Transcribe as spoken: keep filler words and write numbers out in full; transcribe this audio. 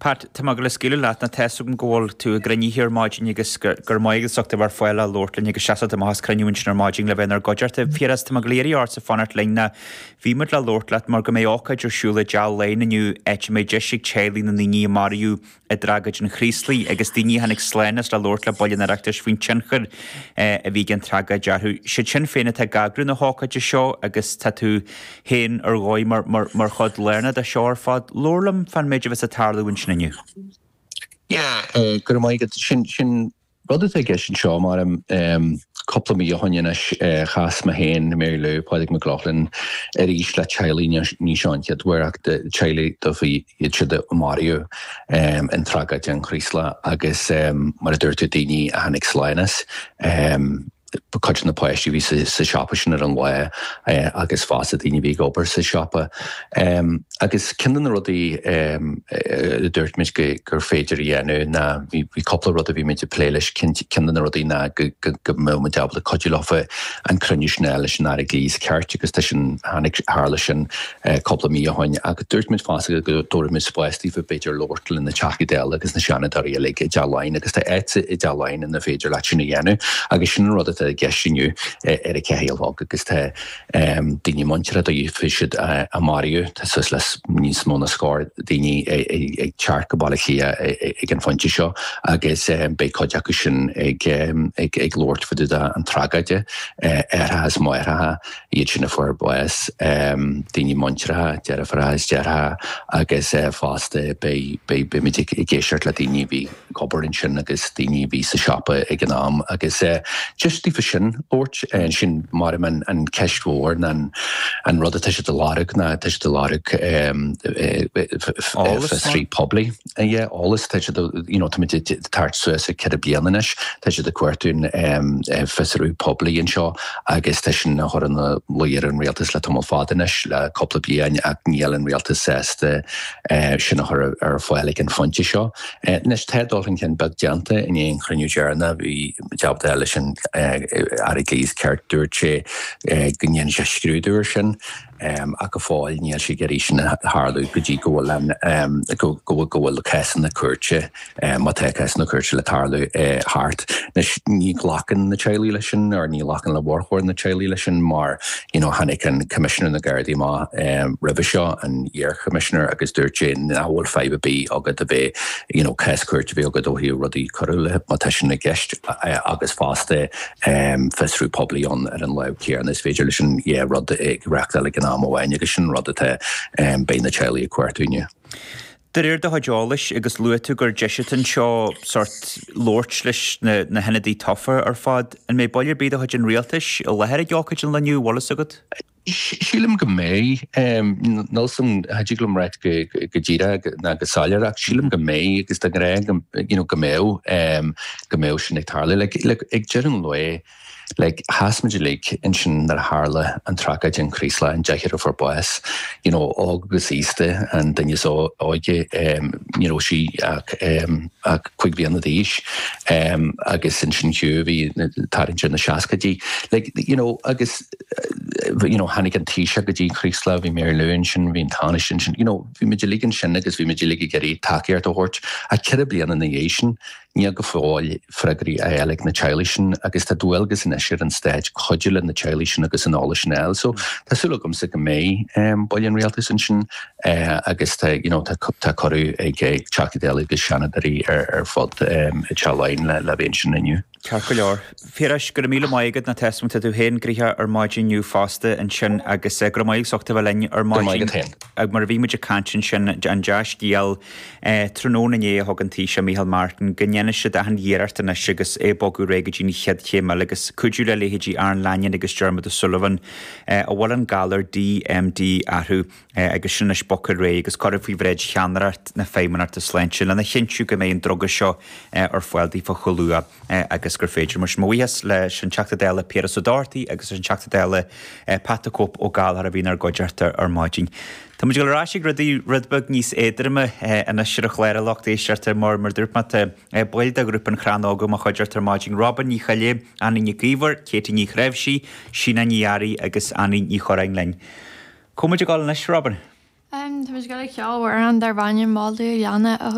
Pat, tá mé ag dul a scaoileadh leat nó tá a fhios agam go bhfuil tú i gcruinnithe ar maidin agus go raibh maith agat as ucht a bheith ar fáil le labhairt linn agus seasamh amach as cruinniú ansin ar maidin le bheith inár gcuideachta. Piaras, tá mé ag dul iarraidh ortsa fanacht linn nó bhí muid le labhairt leat mar go mbeidh ócáid ar siúl i dTeach Laighean inniu áit a mbeidh deis ag teaghlaigh na ndaoine a maraíodh i dtragóid an Chraoslaigh agus daoine a tháinig slán as le labhairt le baill an Oireachtais faoin tionchar a bhí ag an tragóid orthu. Siad Sinn Féin atá ag eagrú na hócáide seo agus tá tú féin ar dhóigh mar, mar, mar chuid lárnach de seo ar fad. Labhair liom fán méid a bheas ag tarlú ansin inniu. Yeah, go raibh maith agat. Sin, sin rud atá i gceist anseo mar um, cúpla mí ó shin anois chas mé féin, Mary Lou, Pádraig Mac Lochlainn arís le teaghlaigh ní seo an chéad uair ach teaghlaigh dóibh iad siúd a maraíodh um, in tragóid an Chraoslaigh agus um, mar a dúirt tú daoine a tháinig slán as. Um, cuid de na páistí a bhí sa siopa sin ar an lá agus fosta daoine a bhí ag obair sa siopa. Um, agus ceann de na rudaí um, a dúirt muid gur féidir a dhéanamh ná bhí cúpla rud a bhí muid ag plé leis ceann de na rudaí ná go mbeadh muid ábalta cuidiú leofa an cruinniú sin leis an Aire Dlí is Cirt agus tá sin tháinig tharla sin cúpla mí ó shin agus dúirt muid fosta go dtabharfaidh muid spás daofa b'fhéidir labhairt le na Teachtaí Dála agus na Seanadóirí uilig i dTeach Laighean agus tá áit i dTeach Laighean ina féidir leat sin a dhéanamh agus sin an rud atá i gceist inniu ar a ceathair a chlog agus tá daoine muinteartha daofa siúd a maraíodh tá suas le níos mó ná scór daoine ag teacht go Baile Átha Cliath ag an phointe seo agus beidh cuid acu sin ag ag labhairt fá dtaobh an tragóide aithreacha is máithreacha iad sin a fuair bás daoine muinteartha deirfiúracha is deartháireacha agus fosta beidh beimid ag éisteacht le daoine a bhí ag obair ansin agus daoine a bhí sa siopa ag an am agus just daofa sin labhairt sin mar an an ceist mhór ná an rud atá siad ag lorg ná tá siad ag lorg fiosrú poiblí. Yeah, eolas tá siad you know, tá muid ag tabhairt suas ag ceithre bliana anois, tá siad ag cuartú fiosrú poiblí anseo agus tá sin a chur ina luí ar an rialtas le tamall fada anois le cúpla bliain ach níl an rialtas sásta sin a chur ar fáil ag an phointe seo. Anois tá dul chun cinn beag déanta i ndiaidh an chruinniú deireanach bhí jab leis an Aire Dlí is Cirt dúirt sé go ndéanfaidh sé scrúdú air sin ach go fóill níl sé ag iarraidh sin a tharlú go dtí go bhfuil an go bhfuil go bhfuil cásanna cúirte má tá cásanna cúirte le tarlú thart. Anois ní ghlacann na teaghlaigh leis sin nó ní ghlacann le mórchuid na teaghlaigh leis sin mar you know, tháinig an Coimisinéir na Gardaí amach roimhe seo an iar-choimisinéir agus dúirt sé nach bhfuil fadhb ar bith agat a bheith you know, cás cúirte a bheith agat ó thaobh rudaí coiriúla má tá sin i gceist agus fosta fiosrú poiblí ann ar an lámh chéanna is féidir leis an yeah, rud ag reachtáil ag an am amháin agus sin rud atá beidh na teaghlaigh ag cuartú inniu. De réir do chuid eolais agus luaigh tú gur deis atá anseo sort labhairt leis na, na hionadaithe tofa ar fad, an mbeidh baill ar bith de chuid an rialtais i láthair ag ócáid an lae inniu, bhfuil fhios agat? Sílim go mbeidh níl san thig liom rá go díreach ná go soiléir ach sílim go mbeidh agus de ghnáth you know, go mbeidh go mbeidh sin ag tarlú like, like, ag deireadh an lae like sheas muid uilig ansin nuair a tharla an tragóid an Chraoslaigh an deichniúr a fuair bás you know, óg agus aosta an duine is óige um, you know, sí ach um, ach cúig bliana d'aois um, agus ansin Hugh bhí tarraingt na seascaidí like, you know, agus you know, tháinig an Taoiseach go dtí Chraoslach bhí Mary Lou ansin bhí an Tánaiste ansin you know, bhí muid uilig ansin agus bhí muid uilig ag iarraidh tacaíocht a thabhairt a ceithre bliana ina dhiaidh sin níl go fóill freagraí á fháil ag na teaghlaigh sin agus tá dualgas anois ar an stát cuidiú le na teaghlaigh sin agus an eolas sin a fháil. So tá súil agamsa go mbeidh um, baill an rialtais ansin uh, agus tá, you know, tá, tá cuireadh ag ag Teachtaí Dála agus Seanadóirí ar, ar fud um, i Teach Laighean le, le bheith ansin inniu. Ceart go leor. Phiarais go raibh míle maith agat na tesm tú féin gnoitheach ar maidin inniu fosta ansin agus go raibh maith agat bheith linn ar maidin. Mar a bhí muid ag caint ansin an dea-scéal tráthnóna inné a thug an Taoiseach Micheál Martin go ndéanfaidh siad achan iarracht anois agus é bogadh ar aghaidh go dtí an chéad chéim eile agus cuidiú le leithéidí Aaron Lanyon agus Dermot O'Sullivan a bhfuil an galar DMD orthu agus sin anois bogtha ar aghaidh agus curtha faoi bhráid cheannaireacht na Feidhmeannachta Sláinte lena chinntiú go mbeidh an druga seo ar fáil daofa chomh luath agus gur féidir mar sin mo bhuíochas leis an Teachta Dála Piaras Ó Dochartaigh agus an Teachta Dála Pat the Cope Ó Gallchóir a bhí inár gcuideachta ar maidin. Tá muid ag ag rudaí rud beag níos éadroime anois ar an chlár a lucht éisteachta mar mar dúirt mé tá baill de ghrúpa an Chrannóga mo chuideachta ar maidin Robin Ní Choille, Annie Nic Íomhair, Katie Ní Chreimhsí, Síne Ní Fhearraigh agus Annie Ní Chorráin linn. Cá muid ag dul anois Robin? Um, Tá muid ag ceol amhrán darb ainm Moladh Leanna a